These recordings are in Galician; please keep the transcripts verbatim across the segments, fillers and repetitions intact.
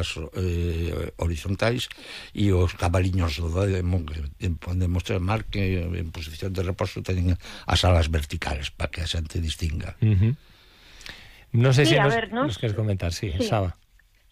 as eh, horizontais, e os cabaliños podemos, podemos chamar que en posición de reposo teñen as alas verticales para que a xente distinga. Uh-huh. Non sei Sí, se a nos, ver, nos- nos queres comentar, sí, sí. Saba.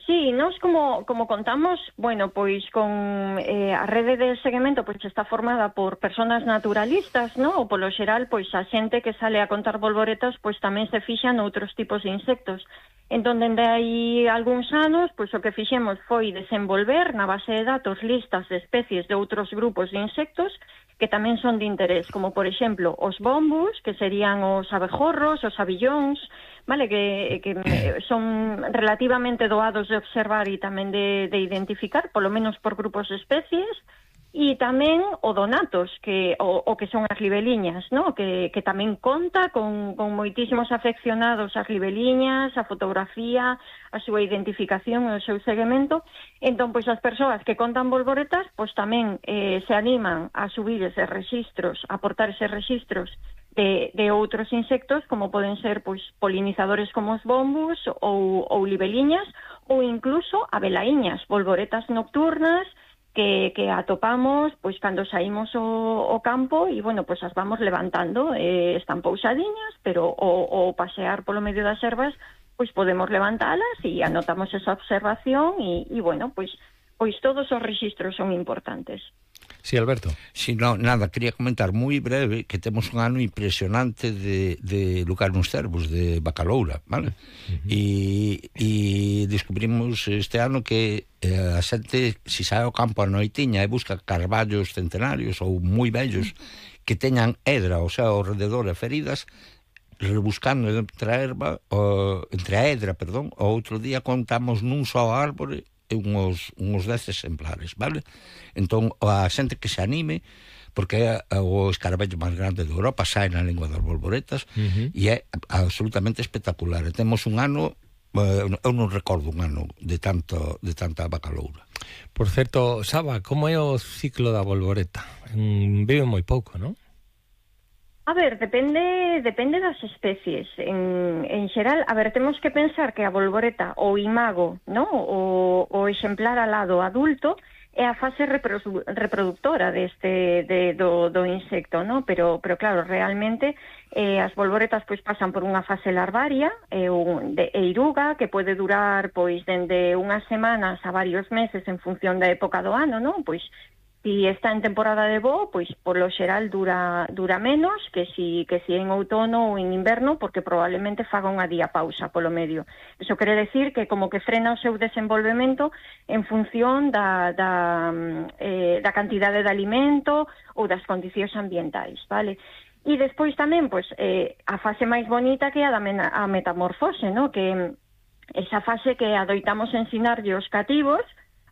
Sí, nós como, como contamos, bueno, pois con eh, a rede de seguimento pois está formada por persoas naturalistas, no? Ou polo xeral, pois a xente que sale a contar bolboretas pois tamén se fixa noutros tipos de insectos. Entón, dende aí algúns anos, pois o que fixemos foi desenvolver na base de datos listas de especies de outros grupos de insectos que tamén son de interés, como por exemplo os bombus, que serían os abejorros, os abillóns, vale, que, que son relativamente doados de observar e tamén de, de identificar, polo menos por grupos de especies, e tamén o donatos, que o, o que son as libeliñas, no? que, que tamén conta con, con moitísimos afeccionados ás libeliñas, a fotografía, a súa identificación e o seu seguimento. Entón, pois as persoas que contan bolboretas, pois tamén eh, se animan a subir eses registros, a aportar eses registros de, de outros insectos, como poden ser pois polinizadores como os bombus ou, ou libeliñas, ou incluso abelaíñas, bolboretas nocturnas, que, que atopamos pois cando saímos o, o campo e, bueno, pois as vamos levantando, eh, están pousadiñas, pero o, o pasear polo medio das ervas, pois podemos levantalas e anotamos esa observación e, e bueno, pois, pois todos os registros son importantes. Sí, Alberto. Si no, nada, quería comentar moi breve que temos un ano impresionante de, de lugar nos cervos de bacaloura, vale? Uh-huh. E, e descubrimos este ano que eh, a xente, se sai ao campo a noitiña e busca carballos centenarios ou moi bellos que teñan edra, o sea, ao rededor e feridas, rebuscando entre a erva, o, entre a edra, perdón, o outro día contamos nun só árbore uns, uns dez exemplares, vale? Entón, a xente que se anime, porque é o escaravello máis grande de Europa, sai na lingua das bolboretas, uh-huh. e é absolutamente espectacular. E temos un ano, eh, eu non recordo un ano de tanto de tanta bacaloura. Por certo, Saba, como é o ciclo da bolboreta? Mm, vive moi pouco, non? A ver, depende depende das especies. En, en xeral, a ver, temos que pensar que a bolboreta, o imago, no? o, o exemplar alado adulto, é a fase reprodu reproductora deste de, do, do insecto, no? Pero, pero claro, realmente eh, as bolboretas pois pasan por unha fase larvaria, eh, un, de eiruga, que pode durar pois dende unhas semanas a varios meses en función da época do ano, no? Pois si está en temporada de voo, pois polo xeral dura dura menos que si que si en outono ou en inverno, porque probablemente faga unha diapausa polo medio. Eso quere decir que como que frena o seu desenvolvemento en función da da eh, da cantidade de alimento ou das condicións ambientais, vale? E despois tamén, pois, eh, a fase máis bonita que é a da mena, a metamorfose, no? Que esa fase que adoitamos ensinarlle os cativos,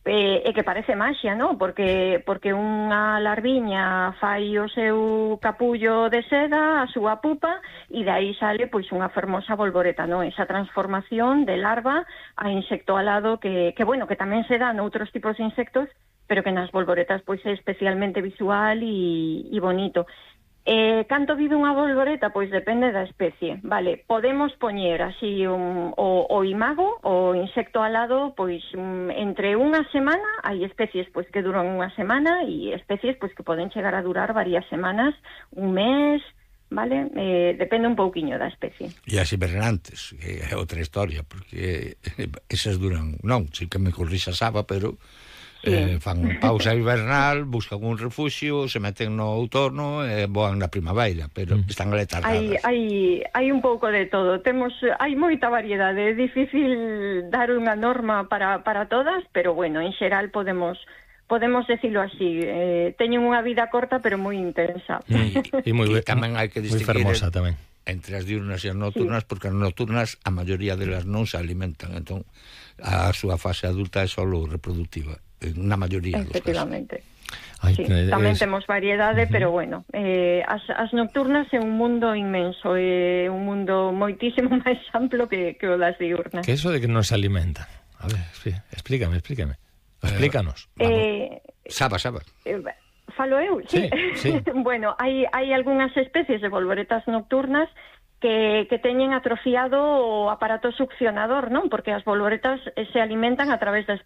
Eh, e que parece maxia, non? Porque, porque unha larviña fai o seu capullo de seda, a súa pupa, e de aí sale pois unha fermosa bolboreta, non? Esa transformación de larva a insecto alado que, que, bueno, que tamén se dá noutros tipos de insectos, pero que nas bolboretas pois é especialmente visual e, e bonito. Eh, canto vive unha bolboreta? Pois depende da especie, vale? Podemos poñer así un, o, o imago, o insecto alado, pois um, entre unha semana, hai especies pois que duran unha semana e especies pois que poden chegar a durar varias semanas, un mes, vale? Eh, depende un pouquiño da especie. E as hibernantes, que é outra historia, porque esas duran, non, si que me corrixa Saba, pero sí. eh, fan pausa hibernal, buscan un refuxio, se meten no outono e voan na primavera, pero mm. están letargadas. Hai, hai, hai un pouco de todo. Temos, hai moita variedade, é difícil dar unha norma para, para todas, pero bueno, en xeral podemos podemos decirlo así, eh, teñen unha vida corta pero moi intensa. Mm. E moi tamén hai que distinguir fermosa tamén entre as diurnas e as nocturnas, sí. porque as nocturnas a maioría delas non se alimentan, entón a súa fase adulta é solo reproductiva, na maioría dos casos. Efectivamente. Ay, sí, es... tamén temos variedade, uh-huh. pero bueno, eh, as, as nocturnas é un mundo inmenso, é eh, un mundo moitísimo máis amplo que, que o das diurnas. Que eso de que non se alimentan? A ver, sí, explícame, explícame. Explícanos. Eh, Saba, Saba. Eh, falo eu, sí. sí, sí. Bueno, hai, hai algunhas especies de bolboretas nocturnas que, que teñen atrofiado o aparato succionador, non? Porque as bolboretas se alimentan a través das